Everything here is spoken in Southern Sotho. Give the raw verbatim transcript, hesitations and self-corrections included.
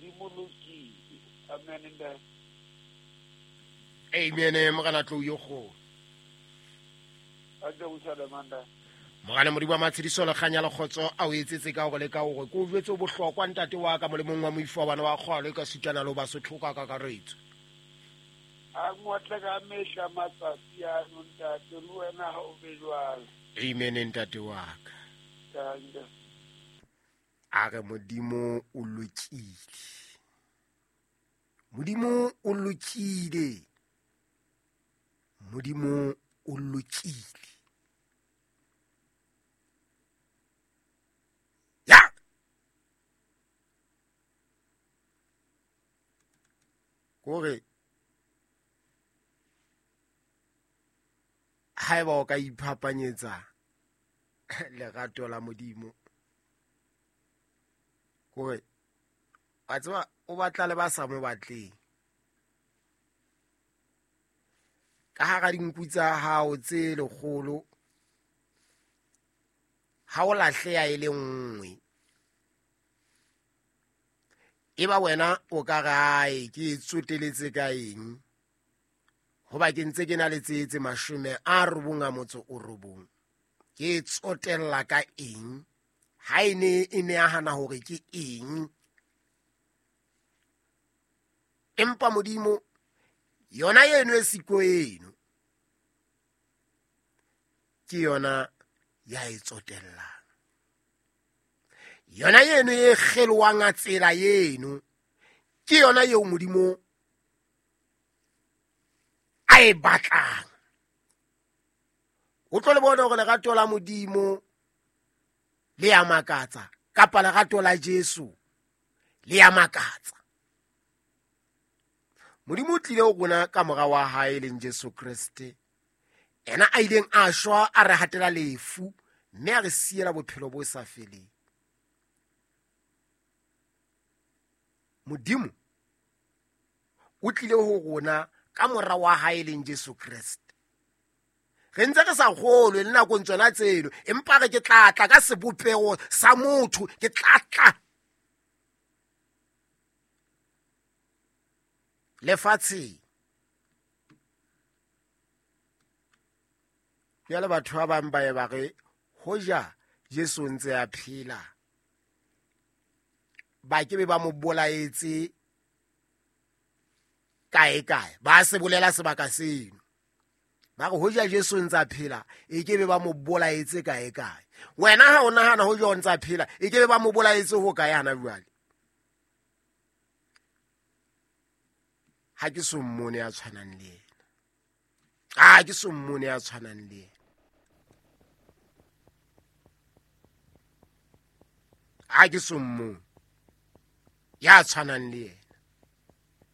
Modimo lokile. Amen ntate. Amen morena Tlou yo kgolo. A Jerusalem ntate. Morena Modimo wa matshediso le kganya le kgotso a o etsetse ka hore le ka hore ke o jwetse o bohlokwa ntate wa ka molemong wa moifo wa bana wa kgwalo e ka sutana le ho Basotho ka kakaretso. A ngotle ka mehla matsatsi ano ntate, le wena ha o be jwalo. Amen ntate wa ka. A re Modimo o lokile. Modimo o lokile. Modimo o lokile. Ya! Kore haeba o ka iphapanyetsa lerato la Modimo, kore wa tseba o batla le ba sa mo batleng. Ka hara dinku tsa hao tse lekgolo, ha o lahleha e le nngwe, eba wena o ka re hae ke tsoteletse ka eng, hoba ke ntse ke na le tse tse mashome a robong a motso o robong, ke tsotella ka eng? Ha e ne e nahana hore ke eng? Empa Modimo yona eno e siko eno ke yona ya e tsotellang, yona eno e kgelwang a tsela eno ke yona eo Modimo a e batlang. O tlo le bona hore lerato la Modimo le ya makatsa, kapa lerato la Jesu le ya makatsa. Modimo o tlile ho rona ka mora wa hae leng Jesu Kreste, ena a ileng a shwa a re hatela lefu mme a re siela bophelo bo sa feleng. Modimo o tlile ho rona ka mora wa hae leng Jesu Kreste. Re ntse re sa kgolwe le nakong tsona tseno, empa re ke tla tla ka sebopeho sa motho, ke tla tla lefatsheng. Jwale batho ba bang ba ye ba re hoja Jesu o ntse a phela, ba ke be ba mo bolaetse kae kae, ba se bolela sebaka seno. Ba re hoja Jesu o ntse a phela, e ke be ba mo bolaetse kae kae. Wena ha o nahana hoja o ntse a phela, e ke be ba mo bolaetse ho kae hana jwale? Ha ke so mmone ya tshwanang le yena. Ha ke so mmone ya tshwanang le yena. Ha ke so mmone ya tshwanang le yena.